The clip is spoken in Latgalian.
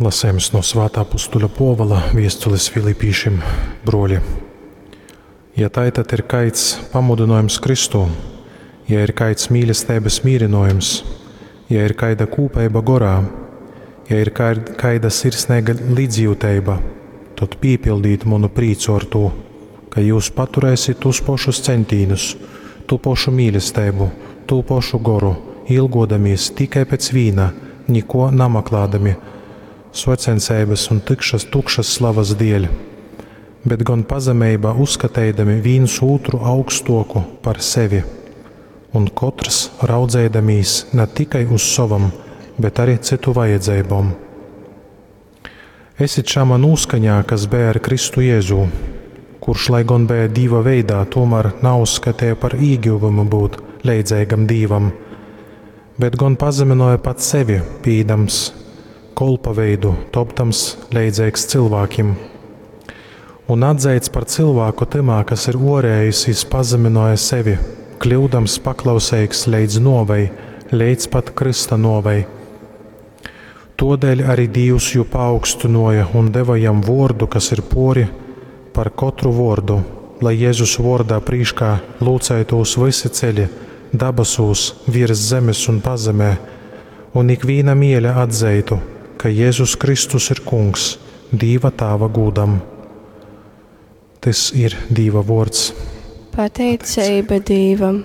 Lasejums no Svātā apustuļa Puovola viestulis Filipīšim, bruoli. Ja tai tad ir kaids pamudynojums Kristū, ja ir kaids mīlesteibys mīrynojums, ja ir kaida kūpeiba gorā, ja ir kaida sirsneiga līdzjuteiba, tod pīpildīt munu prīcu ar tū, ka jūs paturēsit tūs pošus ceņtīnus, tū pošu mīlesteibu, tū pošu goru, ilgodamīs tikai pēc vīna, nikuo namaklādami, socenseibys un tykšas, tukšas slavas dieļ, bet gon pazemeibā uzskateidami vīns ūtru augstuoku par sevi, un kotrs raudzeidamīs na tikai uz sovom, bet arī cytu vajadzeibom. Esit šamā nūskaņā, kas beja ar Kristu Jēzū, kurš, lai gon beja Dīva veidā, tomēr nauzskatīja par īgyvumu būt leidzeigam Dīvam, bet gon pazeminoja pats sevi, pīdams kolpa veidu, topdams leidzeigs cilvēkiem. Un atzeits par cilvēku tymā, kas ir orējis, jis pazeminoja sevi, kļūdams paklauseigs leidz novei, leidz pat krysta novei. Todēļ arī Dīvs jū paaugstinoja un deva jam vordu, kas ir pori par kotru vordu, lai Jēzus vordā prīškā lūcētūs visi ceļi, dabasūs, virs zemes un pazemē, un ikvīna mieļa atzeitu, ka Jēzus Kristus ir Kungs, Dīva Tāva gūdam. Tys ir Dīva vords. Pateiceiba Dīvam.